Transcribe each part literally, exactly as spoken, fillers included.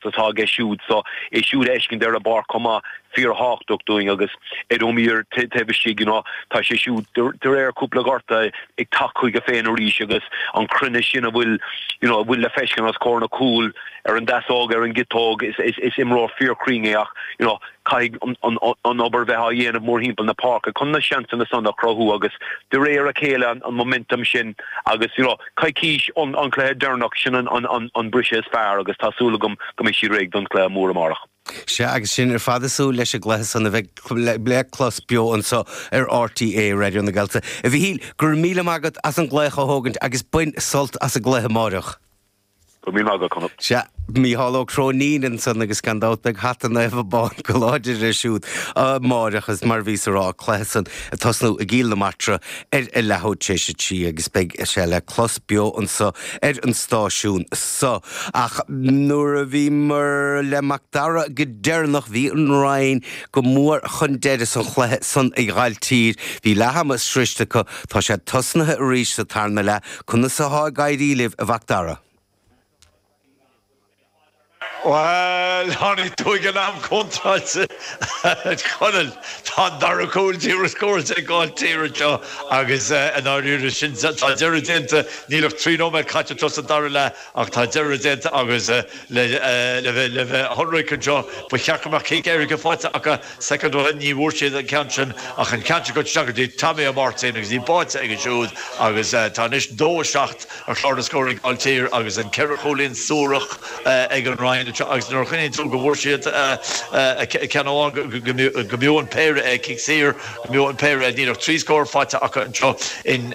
chruinneacht atá aige siúd so é siúd a fheiscint ar an bpáirc chomh maith fíorthábhachtach dúinn agus Ed O'Meara taobh istigh you know tá sé siúd de réir cúpla gortú ag teacht chuige féin arís agus an cruinneas sin a bhfuil you know a bhfuil le feiscint os comhair na cúl ar an deasóg ar an gciotóg is is is imreoir fíorchruinn é ach you know caithfidh an, an, an obair bheith á dhéanamh mórthimpeall na páirce chun na seansanna san a chruthú agus de réir a chéile an, an momentum sin agus you know coicís an, an cluiche deireanach sin an, an, an, an briseadh is fearr agus tá súil agam go mbeidh siad réidh don chluiche mór amárach. Sea agus sin ar fad ag súil leis an gcluiche san a bheith le clos beo anseo ar RTÉ Raidió na Gaeltachta. A Mhíchíl go raibh míle maith agat as an glaoch a thógaint agus bain sult as an gcluiche amárach. Go míle maith agat. Sea Mícheál Ó Cróinín ansan agus gan dabht beidh hata naofa bán go láidir air siúd amárach is mar bhí rá cluiche san ag tosnú i gCill na Martra ar a leathuair tar éis a trí agus beidh sé le clos beo anseo ar an stáisiún seo. Ach nuair a bhíomar le Mac Dara go deireanach bhí an Rinn go mór chun deireadh san chluiche san i nGailltír, bhí leath ama sroichte acu tá sé tosnaithe arís sa tarna leath conas atá ag éirí libh a Mhac Dara. Well tháinig tú ag an am contráilte Conall tá dara cúl scóráilte ag Gailltír seo agus an áirí sin tá deireadh déanta níl ach trí nóiméad caite sa dara leath ach tá deireadh déanta agus le le le bheith ionraic anseo ba cheart go mbeadh cic éirice faighte acu soicind ó ní bhfuair siad an ceann sin ach an ceann go go dtí Tommy Martin agus í báite ag siúd agus tá anois dó seacht ar chlár na scór ag Gailltír agus an ceithre chúilín suarach ag an Rinn agus nuair chuin tú go bhfuair siad ceann go mb'fhiú an péire é cic saor go mb'fhiú an péire níl ach trí scór faighte acu anseo in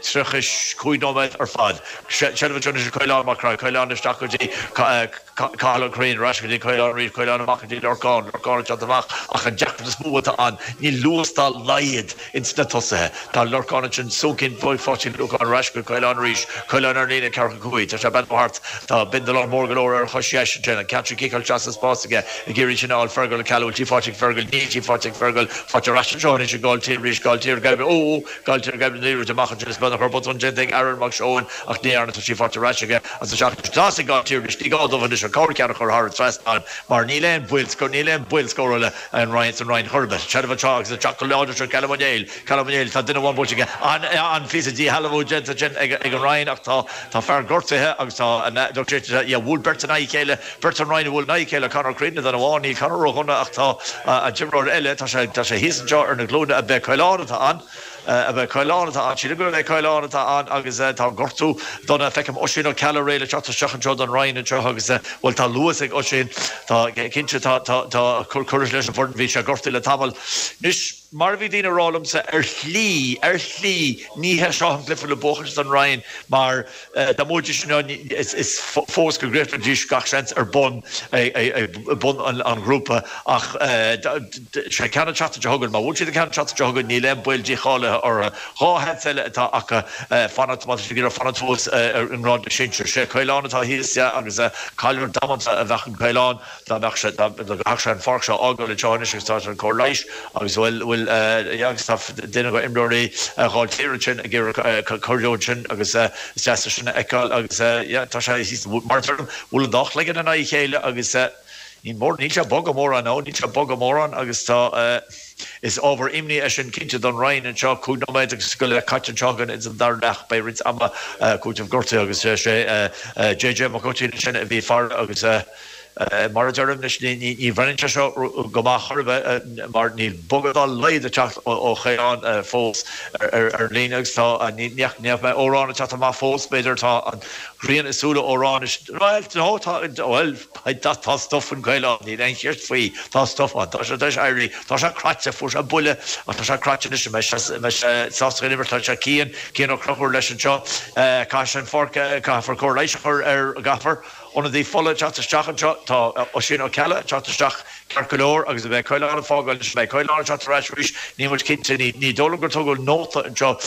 tríocha cúig nóiméad ar fad. Se Caolán Mac Caolán isteach go dtí Cathal Ó Curraoin go dtí Caolán arís Caolán amach dtí Lorcán Lorcán amach ach an deacracht is mó atá ann níl luas dá laghad ins na tosaithe Tá Lorcán sin súcin fáin Lorcán arís go Caolán arís Caolán ar líne ceathracha cúig Tá sé ben hart tá bindelá mór go leor ar chois sin an ceann ciceáil isteach spás aige ag iarraidh sin fháil Fergal Ceú tí fáilte Fergal ní tí fáilte Fergal fáilte ras seo is Gailltír arís Gailltír gaib ó Gailltír gaib ní amach sin ben chur botún déanta ag Aaron Mac Seoin ach ní arna sí fáilte ras aige as seach Gailltír ní gá dóibh an cóir cean chur thar trasnán mar níl aon bhuil níl aon bhuil scórála an Rinn an Rinn churbe Se seo agus teach láidir seo Callum O'Neill Callum O'Neill tá duine amháin an an fi dí déanta sin ag an Rinn ach tá tá fear gortaithe agus tá bhfuil beirt na chéile beirt an Rinn bhfuil na chéile Conor Creedon den amháin ní Conor O'Huna ach tá an t-imreoir eile tá sé tá sé thíos anseo ar na glúine a bheith Caolán atá an a bheith Caolán atá an sí go bheith Caolán atá an agus tá gortú dona feicim Oisín Ó Ceallaigh réidh le teacht isteach anseo don Rinn anseo agus bhfuil tá luas ag Oisín tá cinnte tá tá cur leis an bhfoireann bhí sé gortaithe le tamall. Anois mar bhí daoine ag rá liomsa ar shlí ar shlí ní hé seo an cluiche le buachan don Rinn mar dá mbuafaidís sin is fós go gcríochnóidís gach seans ar bun bun an ghrúpa ach sé ceanna teata thugann má bhuann siad ceann teata thugann níl aon bhaol dícháilithe orthu dhá sheans eile atá acu fanacht má fanacht thuas ar an ngrád sinsir sé Caolán atá thíos agus cailliúint damanta a bheadh an Caolán dá mbeadh sé sé an pháirc seo a fhágáil anseo agus tá an cóir leighis agus bhfuil bhfuil agus tá duine go imreoirí Ghailltír sin ag cuidiú sin agus is deas sin a fheiceáil agus tá sé mar bhfuil an dá chloigeann in aghaidh a chéile agus ní mór níl sé bog mórán nó níl sé bog mórán agus tá is ábhar imní é sin cinnte don Rinn anseo cúig nóiméad agus go le caite anseo againn ins an dara leath beidh roinnt ama cúiteamh gortaithe agus sé JJ Mac Oitín sin a bhí fear agus mar a deirim ní bhreathnaíonn sé seo go maith chor ar bith mar níl bogadh dá laghad ag teacht ó Chaolán fós ar ar líne agus tá ní mé órán teacht amach fós b'fhéidir tá an ghrian i súile Órán well no tá well tá stuif an Chaolán níl aon cheist faoi tá stuif an tá sé éirí tá sé cráite fuair sé buille tá sé cráite me sásta tá sé Cian Cian Ó Conchúir leis anseo caithfidh an pháirc caithfear cóir leighis a chur ar gafar ionadaí fola teacht isteach anseo tá Oisín Ó Ceallaigh teacht isteach ceart go leor agus a bheith Caolán fágáil beidh Caolán teacht ar ais arís ní muid cinnte ní ní dóigh liom gur tugadh nóta anseo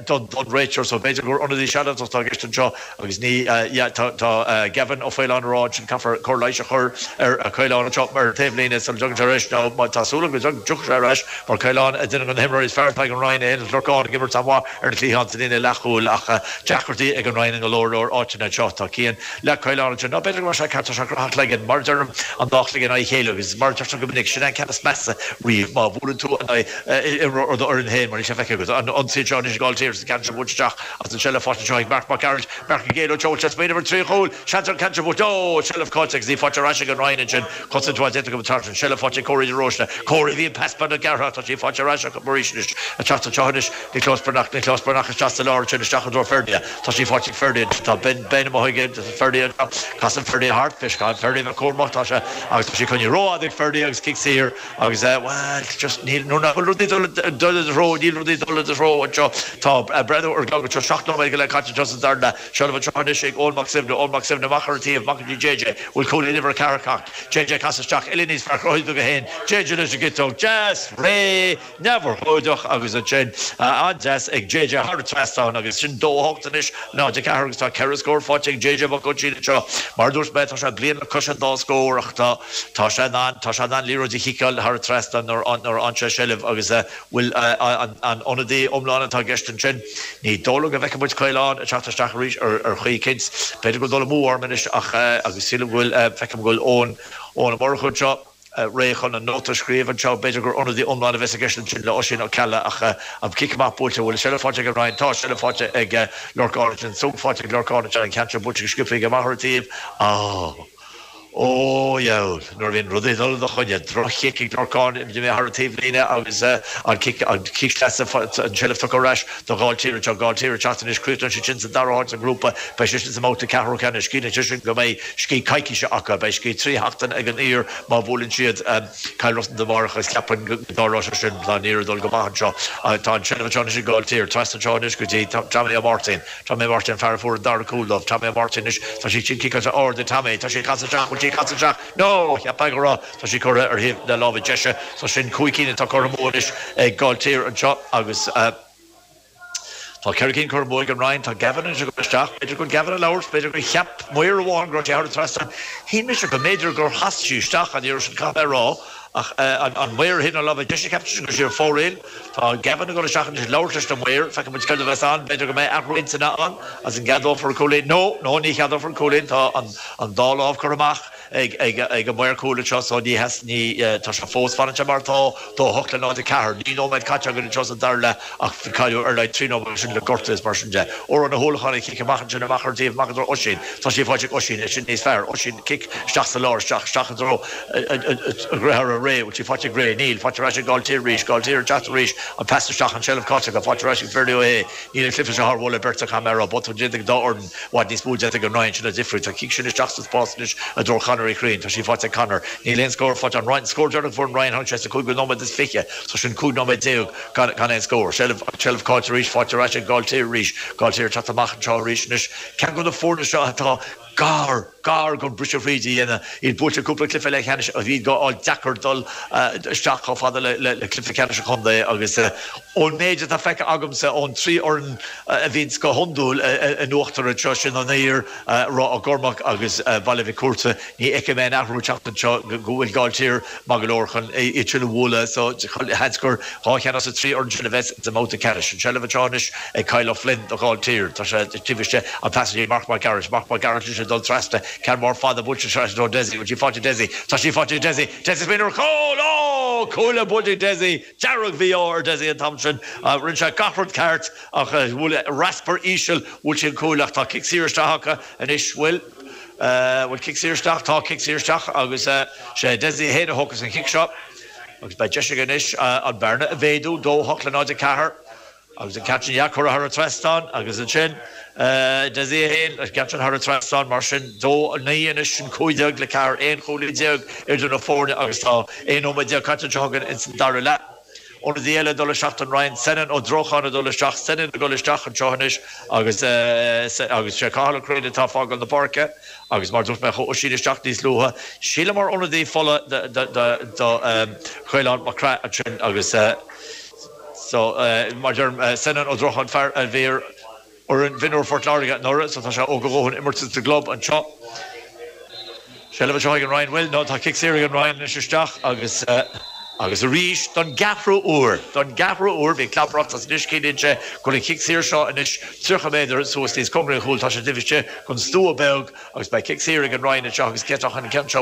don don réiteoir so b'fhéidir gur ionadaí sealadach atá i gceist anseo agus ní tá Gavin Ó Faoláin ag rá sin caithfear cóir leighis a chur ar Caolán anseo ar taobhlíne sula dtagann sé ar ais nó má tá súil go dtiocfaidh sé ar ais mar Caolán duine de na himreoirí is fearr ag an Rinn é Lorcán ag imirt an-mhaith ar na cliatháin sa líne leathchúil ach deacrachtaí ag an Rinn in go leor leor áiteanna anseo tá Cian le Caolán ansin. Ná b'fhéidir go raibh sé ceart, tá sé graitheach leagan, mar a deirim, an dá chloigeann in aghaidh a chéile agus mar a deirtear go minic, sin é an ceann is measa riamh, má bhuaileann tú in aghaidh imreoir ar d'fhoireann féin, mar níl sé feicthe agat. An ionsaí anseo anois ag Gailltír agus an ceann seo buailte isteach agus an tseilbh faighte anseo ag Marc Mac Gearailt, Marc ag géilleadh anseo, bhfuil sé ag smaoineamh ar trí chúl, seans ar an ceann seo buailte, ó, seilbh caillte agus í faighte ar ais ag an Rinn ansin, cosaint mhaith déanta acu an tseachtain, seilbh faighte ag Córaí de Róiste, Córaí, bhí an pas beagnach gearrtha ach tá sí faighte ar ais acu arís anois, ag teacht anseo anois, Nioclás Breathnach, Nioclás Breathnach isteach sa lár ansin, isteach i dtreo Ferdia. Tá sí faighte ag Ferdia ansin. Tá Ben, Ben amuigh aige, Ferdia anseo. Casann Ferdia thart. Bhí sé, Ferdia bheith cúramach, tá sé, agus tá sí coinnithe rófhada ag Ferdia agus cic saor agus eh, bhuel, just níl, nuair nach bhfuil rudaí dul, dul i do threo, níl rudaí dul i do threo anseo. Tá breathnú ar an gclog anseo, seacht nóiméad go leith caite anseo sa dara leath. Seilbh anseo anois ag Eoin Mac Suibhne, Eoin Mac Suibhne amach ar an taobh, amach go dtí JJ. Bhfuil cúilín uimhir a ceathair ag teacht? JJ casadh isteach, uillinn níos fearr cruthaithe aige féin. JJ leis an gciotóg, deas, réidh! Neamhurchóideach agus ansin an-deas ag JJ thar an trasnán agus sin dó a hocht anois, náid a ceathair agus tá ceithre scór faighte ag JJ Mac Oisín anseo. Mar a dúirt mé, tá sé bliain le cois an dá scór ach tá tá sé in ann tá sé in ann liathróid a chiceáil thar an trasnán nuair nuair a fhaigheann sé seilbh agus bhfuil an an ionadaí iomlán atá i gceist ansin. Ní dóigh liom go bhfeicfidh muid Caolán ag teacht isteach arís ar ar chaoi eicínt. B'fhéidir go bhfuil dul amú orm anois ach agus sílim go bhfuil feicim go bhfuil Eoin Eoin Ó Murchú anseo. réidh chun an nóta a scríobh anseo. B'fhéidir gur ionadaí iomlán a bheas i gceist ansin le Oisín Ó Ceallaigh ach an cic amach buailte, bhfuil seilbh faighte ag an Rinn? Tá seilbh faighte ag Lorcán ansin, súnn faighte ag Lorcán ansin, an ceann seo buailte go sciobtha aige amach ar an taobh. Á! Ó dheabhail! Nuair a bhíonn rudaí ag dul i do choinne, droch-chic ag Lorcán, imithe thar an taobhlíne agus an cic, an cic sleasa, an tseilbh tugtha ar ais do Ghailltír anseo. Gailltír ag teacht anois, críochnóidh siad sin sa dara háit sa ngrúpa, beidh siad sin sa mbabhta ceathrú ceannais. Ciallaíonn sé sin go mbeidh scíth coicíse acu. Beidh scíth trí sheachtain ag an Uidhir má bhuaileann siad Cill Rosna amárach agus ceapaim go dtarlóidh sé sin. Tá an Uidhir ag dul go maith anseo. Tá an tseilbh anseo anois ag Gailltír. Trasna anseo anois go dtí Tommy Ó Máirtín. Tommy Ó Máirtín, fear a fuair an dara cúl dóibh. Tommy Ó Máirtín anois. Tá sí sin ciceáilte ard ag Tommy. Tá sí ag casadh isteach. Bhfuil sí ag casadh isteach? No! Cheapfá go raibh. Tá sí curtha ar thaobh na láimhe deise. So sin cúig cinn atá curtha amú anois ag Gailltír anseo agus. Tá ceithre cinn curtha amú ag an Rinn. Tá Gavin anois ag dul isteach. B'fhéidir go bhfuil Gavin ag labhairt. B'fhéidir gur cheap maor amháin go raibh sé thar an trasnán. Shíl mise go mb'fhéidir gur chas sí isteach an iarraidh sin, caithfidh mé a rá. Ach an maor ar thaobh na láimhe deise, cheap seisean go raibh sí ar fóraoil. Tá Gavin ag dul isteach anois ag labhairt leis na maoir. Feicfidh muid céard a bheas ann. B'fhéidir go mbeidh athrú intinne ann agus an gceadófar an cúilín. No! No, ní cheadófar an cúilín. Tá an dá lámh curtha amach. ag an maor cúil anseo so ní theas ní tá sé fós fanann sé mar atá dó a hocht le náid a ceathair. Naoi nóiméad caite againn anseo sa dara leath ach bhí cailleadh ar a laghad trí nóiméad sin le gortú is mar sin de. Odhrán Ó hUallacháin ag cic amach ansin amach ar an taobh amach i dtreo Oisín. Tá sí faighte ag Oisín é sin níos fearr. Oisín cic isteach sa lár isteach isteach i dtreo a dhearthára Ray. Bhfuil sí faighte ag Ray? Níl. Faighte ar ais ag Gailltír arís. Gailltír ag teacht arís. An pas isteach an tseilbh caillte acu. Faighte ar ais ag Ferdia Ó hAodha. Níl an cluiche seo thar mholadh beirte caithfidh mé a rá. Botún déanta ag an dá fhoireann. I bhfad níos mó déanta ag an Rinn, sin an difríocht. Tá cic sin isteach sa spás anois i dtreo Conor Uí Chriain. Tá sí faighte ag Conor. Níl aon scór faighte. An Rinn, scór deireanach a fuair an Rinn, tháinig sé sa cúigiú nóiméad is fiche, so sin cúig nóiméad déag gan gan aon scór. Seilbh, an tseilbh caillte arís, faighte ar ais ag Gailltír arís. Gailltír ag teacht amach anseo arís anois. Ceann de na foirne seo atá gar, gar don briseadh fríd a dhéanamh. Iad buailte cúpla cluiche leathcheannais agus iad á fháil deacair dul isteach chomh fada le cluiche ceannais an chontae agus ón méid atá feicthe agamsa ón trí fhoireann a bhíonns go hiondúil in uachtar anseo, sin an Uidhir, Ráth Ó gCormaic agus Baile Mhic Cuarta, ní fheicfidh mé aon athrú ag teacht anseo go bhfuil Gailltír maith go leor chun iad sin a bhualadh so seans gur dhá cheann as an trí fhoireann sin a bheas sa mbabhta ceannais. An tseilbh anseo anois ag Kyle O'Flynn do Ghailltír. Tá sé taobh istigh, an pas go dtí Marc Mac Gearailt. Marc Mac Gearailt anois ag dul trasna, ceann mór fada buailte isteach i dtreo Dessie. Bhfuil sí faighte ag Dessie? Tá sí faighte ag Dessie! Dessie ag smaoineamh ar chúl! Ó! Cúl buailte ag Dessie! Dearg-mhí-ádh ar Dessie an t-am sin. Rinne sé gach rud ceart ach bhuail raspar íseal, bhuail sé an cúl ach tá cic saor isteach acu anois. Bhfuil? Bhfuil cic saor isteach? Tá cic saor isteach agus sé Dessie féin a thógfas an chic seo agus beidh deis aige anois an bearna a mhéadú, dó hocht le náid a ceathair. Agus an ceann sin curtha thar an trasnán agus ansin Dessie féin, an ceann sin thar an trasnán, mar sin dó naoi anois, sin cúig déag le ceathair, aon chúilín déag idir na foirne agus tá aon nóiméad déag caite anseo againn ins an dara leath. Ionadaí eile ag dul isteach don Rinn, Senan Ó Drocháin ag dul isteach, Senan ag dul isteach anseo anois agus agus sé Cathal Ó Curraoin atá ag fágáil na páirce agus mar dúirt mé chuaigh Oisín isteach níos luaithe, sílim mar ionadaí fola do Chaolán Mac Craith ansin agus. So, mar a deirim, Senan Ó Drocháin, fear a bhí ar fhoireann mhionúir Phort Láirge anuraidh, so tá sé óg a dhóthain imirt sa gclub anseo. Seilbh anseo ag an Rinn, bhfuil? No, tá cic saor ag an Rinn anois isteach agus Agus arís don gceathrú huair don gceathrú huair bhí clapracht as anois cé go an cic saor seo anois tríocha méadar suas níos cóngaraí chúl tá sé difiste gon stua beag agus beidh cic saor ag an Rinn seo agus ceach an ceann seo